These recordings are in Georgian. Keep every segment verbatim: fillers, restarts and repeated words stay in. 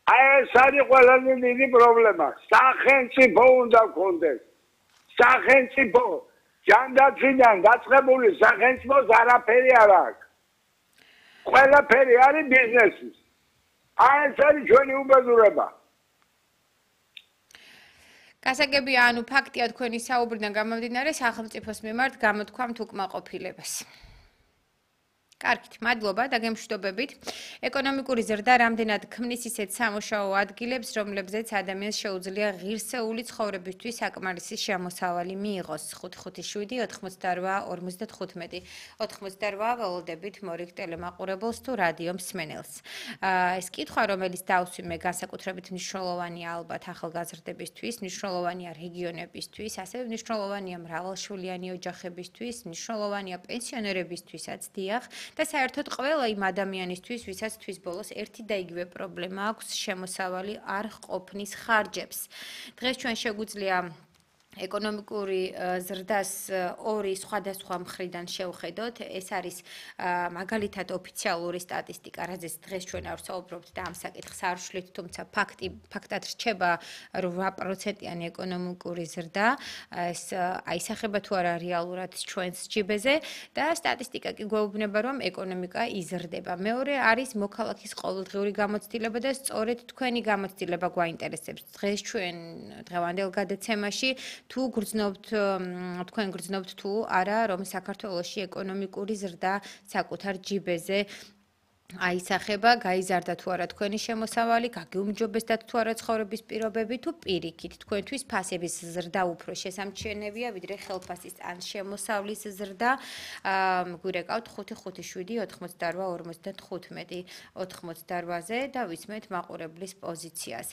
აი ეს არის ყველაზე დიდი პრობლემა. სახელმწიფო უნდა გქონდეს. სახელმწიფო ჯანდაცვიდან დაწყებული სახელმწიფოს არაფერი არ აქვს. ყველაფერი არის ბიზნესის. აი ეს არის ჩვენი უბედურება. გასაგებია, ანუ ფაქტია თქვენი საუბრიდან გამომდინარე სახელმწიფოს მიმართ გამოთქვამთ უკმაყოფილებას. კარგით, მადლობა და გემშვიდობებით. ეკონომიკური ზრდა რამდენად ქმნის ისეთ სამუშაო ადგილებს, რომლებზეც ადამიანს შეუძლია ღირსეული ცხოვრებისთვის საკმარისი შემოსავალი მიიღოს. ხუთი ხუთი შვიდი ოთხმოცდარვა ორმოცდათხუთმეტი ოთხმოცდარვა ველოდებით მორიგ ტელემაყურებელს თუ რადიო მსმენელს. ეს კითხვა, რომელიც დავსვიმე განსაკუთრებით მნიშვნელოვანია ალბათ ახალგაზრდებისთვის, მნიშვნელოვანია რეგიონებისთვის, ასევე მნიშვნელოვანია მრავალშვილიანი ოჯახებისთვის, მნიშვნელოვანია პენსიონერებისთვისაც, დიახ. და საერთოდ ყველა იმ ადამიანისთვის, ვისაც თვის ბოლოს ერთი და იგივე პრობლემა აქვს, შემოსავალი არ ყოფნის ხარჯებს. დღეს ჩვენ შეგვიძლია ეკონომიკური ზრდას ორი სხვადასხვა მხრიდან შევხედოთ. ეს არის მაგალითად ოფიციალური სტატისტიკა, რაზეც დღეს ჩვენ არ ვსაუბრობთ და ამ საკითხს არ ვშლით, თუმცა ფაქტი ფაქტად რჩება რვა პროცენტიანი ეკონომიკური ზრდა. ეს აისახება თუ არა რეალურად ჩვენს ჯიბეზე და სტატისტიკა კი გვეუბნება, რომ ეკონომიკა იზრდება. მეორე არის მოქალაქის ყოველდღიური გამოცდილება და სწორედ თქვენი გამოცდილება გვაინტერესებს. დღეს ჩვენ დღევანდელ გადაცემაში თუ გრძნობთ თქვენ გრძნობთ თუ არა რომ საქართველოში ეკონომიკური ზრდა საკუთარ ჯიბეზე აისახება, გაიზარდა თუ არა თქვენი შემოსავალი, გაგიუმჯობესდათ თუ არა ცხოვრების პირობები თუ პირიქით თქვენთვის ფასების ზრდა უფრო შესამჩნევია ვიდრე ხელფასის ან შემოსავლის ზრდა. გვირეკავთ ხუთი ხუთი შვიდი ოთხმოცდარვა ორმოცდათხუთმეტი ოთხმოცდარვაზე და ვისმენთ მაყურებლის პოზიციას.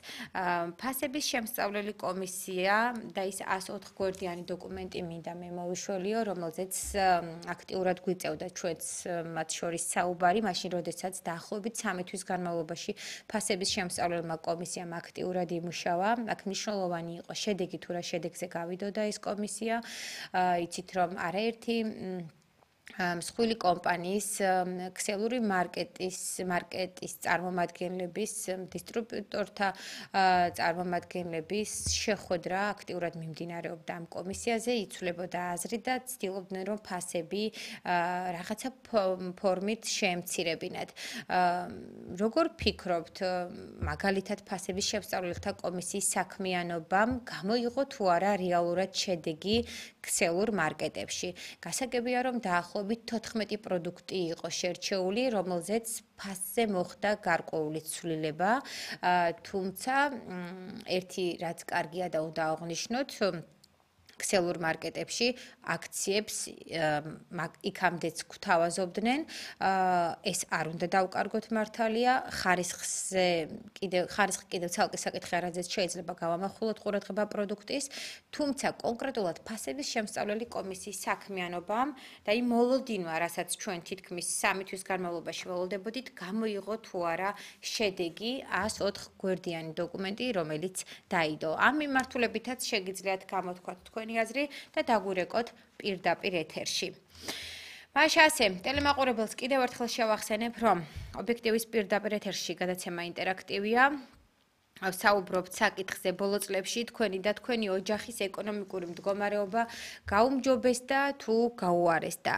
ფასების შემსწავლელი კომისია და ის ას ოთხ გვერდიანი დოკუმენტი მინდა მე მოვიშველიო, რომელზეც აქტიურად გვიწევდა ჩვენს მათ შორის საუბარი, მაშინ როდესაც დაახლოებით სამი თვის განმავლობაში ფასების შემსწავლელმა კომისიამ აქტიურად იმუშავა. აქ მნიშვნელოვანი იყო შედეგი თუ რა შედეგზე გავიდოდა ეს კომისია. იცით რომ არაერთი მსხვილი კომპანიის ქსელური მარკეტის მარკეტის წარმომადგენლების დისტრიბუტორთა წარმომადგენლების შეხვედრა აქტიურად მიმდინარეობდა ამ კომისიაზე, იცვლებოდა აზრი და ცდილობდნენ რომ ფასები რაღაცა ფორმით შეემცირებინათ. როგორ ფიქრობთ, მაგალითად ფასების შემსწავლელთა კომისიის საქმიანობამ გამოიღო თუ არა რეალურად შედეგი ქსელურ მარკეტებში? გასაგებია რომ დაახლოებით თოთხმეტი პროდუქტი იყო შერჩეული, რომელზეც ფასზე მოხდა გარკვეული ცვლილება, თუმცა ერთი რაც კარგია და უნდა აღვნიშნოთ, ქსელურ მარკეტებში აქციებს იქამდეც გვთავაზობდნენ. ეს არ უნდა დავკარგოთ მართალია, ხარისხზე კიდევ ხარისხი კიდევ ცალკე საკითხია, რაზეც შეიძლება გავამახვილოთ ყურადღება პროდუქტის, თუმცა კონკრეტულად ფასების შემსწავლელი კომისიის საქმიანობამ და იმ მოლოდინვა, რასაც ჩვენ თითქმის სამი თვის განმავლობაში ველოდებოდით, გამოიღო თუ არა შედეგი ას ოთხ გვერდიანი დოკუმენტი, რომელიც დაიდო. ამ მიმართულებითაც შეგიძლიათ გამოთქვათ თქვენ აზრი და დაგვირეკოთ პირდაპირ ეთერში. მაშინ ასე, ტელემაყურებელს კიდევ ერთხელ შევახსენებ, რომ ობიექტივის პირდაპირ ეთერში გადაცემა ინტერაქტივია. საუბრობთ საკითხზე ბოლო წლებში თქვენი და თქვენი ოჯახის ეკონომიკური მდგომარეობა გაუმჯობესდა თუ გაუარესდა.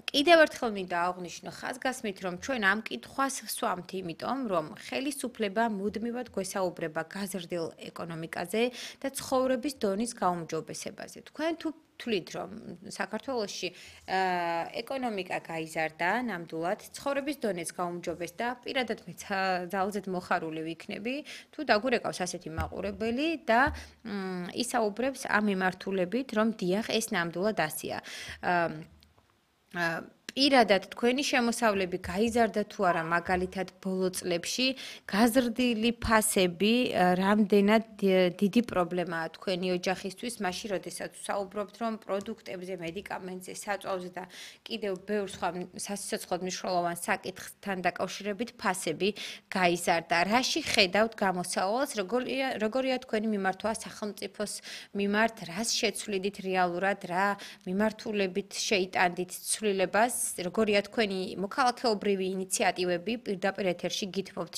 კიდევ ერთხელ მინდა აღვნიშნო ხაზგასმით, რომ ჩვენ ამ კითხვას ვსვამთ, იმიტომ რომ ხელისუფლება მუდმივად გვესაუბრება გაზრდილ ეკონომიკაზე და ცხოვრების დონის გაუმჯობესებაზე. თქვენ თუ თვლით რომ საქართველოში ეკონომიკა გაიზარდა ნამდვილად, ცხოვრების დონეც გაუმჯობესდა, პირადად მე ძალზედ მოხარული ვიქნები, თუ დაგვირეკავს ასეთი მაყურებელი და ისაუბრებს ამ მიმართულებით, რომ დიახ, ეს ნამდვილად ასეა. პირადად თქვენი შემოსავლები გაიზარდა თუ არა, მაგალითად ბოლო წლებში გაზრდილი ფასები რამდენად დიდი პრობლემაა თქვენი ოჯახისთვის, მაშინ როდესაც საუბრობთ რომ პროდუქტებზე, მედიკამენტზე, საწვავზე და კიდევ ბევრ სხვა სასიცოცხლოდ მნიშვნელოვან საკითხთან დაკავშირებით ფასები გაიზარდა. რაში ხედავთ გამოსავალს, როგორია როგორია თქვენი მიმართვა სახელმწიფოს მიმართ, რას შეცვლიდით რეალურად, რა მიმართულებით შეიტანდით ცვლილებას, როგორია თქვენი მოქალაქეობრივი ინიციატივები პირდაპირ ეთერში გითხოვთ